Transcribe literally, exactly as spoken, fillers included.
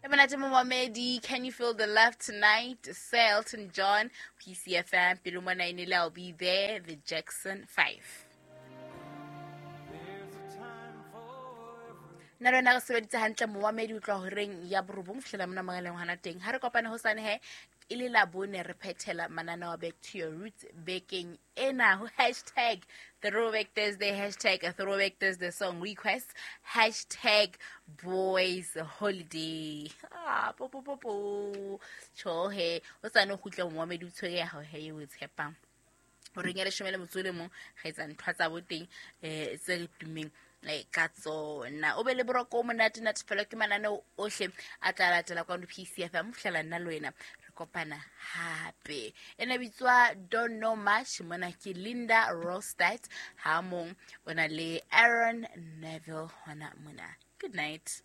E monate momamedi, Can You Feel the Love Tonight? Sir Elton John, P C F M, pelo mona e nele, I'll be there, the Jackson five. Nna le wena re sebeditse hantle momamedi, o tloha horeng ya borobong ho fihlela mona mohaleng hona teng. Ha re kopane hosane he, e le Labone re phethela mananeo a Back to Your Roots bekeng ena ho hashtag Throwback Thursday, hashtag Throwback Thursday song request, hashtag Boys Holiday. Ah, po, po, po, po. Tjho he, hosane o kgutle momamedi o tshwere ya hao he eo o e tshepang. Horeng ya leshome le motso o le mong, re etsa ntho tsa bo teng, eh, tse re tummeng ka tsona. O be le boroko o monate, natefelo ke mananeo ohle a tla latela kwano P C F M. Ho fihlela nna le wena re kopana hape. Ena bitswa Don't Know Much, mona ke Linda Ronstadt, ha mong o na le Aaron Neville hona mona. Good night.